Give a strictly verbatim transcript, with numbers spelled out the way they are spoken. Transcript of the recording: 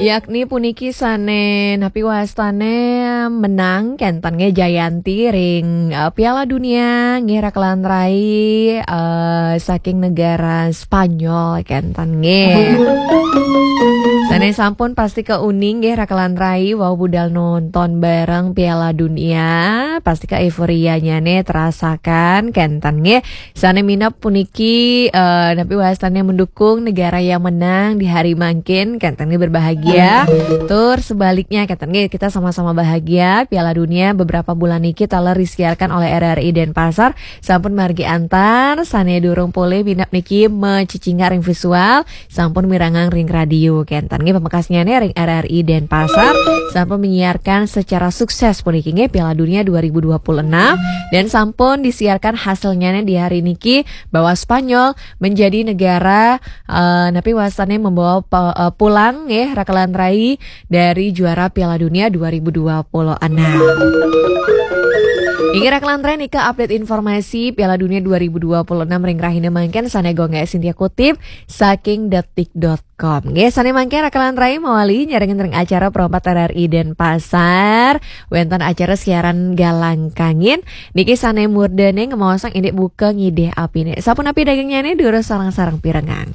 Yakni puniki sane napi wastane menang kenten nggih jayanti ring eh, Piala Dunia nggih rakelan rai eh, saking negara Spanyol kenten nggih. Sane sampun pasti ke uning nggih rakelan rai wau budal nonton bareng Piala Dunia, pasti ke euforianya ne terasakan kenten nggih. Sane minab puniki eh, napi wastane mendukung negara yang menang di hari mangkin kenten nggih berbahagia. Tur sebaliknya kenten nggih kita sama-sama bahagia. Piala Dunia beberapa bulan niki taler disiarkan oleh R R I Denpasar sampun margi antar sane durung polih minab niki mecicinga ring visual sampun mirengang ring radio kenten nggih pamekasnyane ring R R I Denpasar sampun menyiarkan secara sukses puniki nggih Piala Dunia dua ribu dua puluh enam dan sampun disiarkan hasilnya di hari niki bahwa Spanyol menjadi negara eh, napi wastane membawa pe- eh, pulang nggih rakelan rai dari juara Piala Dunia dua ribu dua puluh enam. Inggih rakelan rai nika update informasi Piala Dunia dua ribu dua puluh enam ring rahina mangkin sane Gongga Sintia kutip saking detik dot com. Nggih, sane mangkin rakelan rai mawali nyarengin ring acara Perempat R R I Denpasar. Wenten acara siaran Galang Kangin. Niki sane murdane ngemaosang indik buka ngidih apine. Sapunapi dagingnyane durus sareng-sareng pirengang.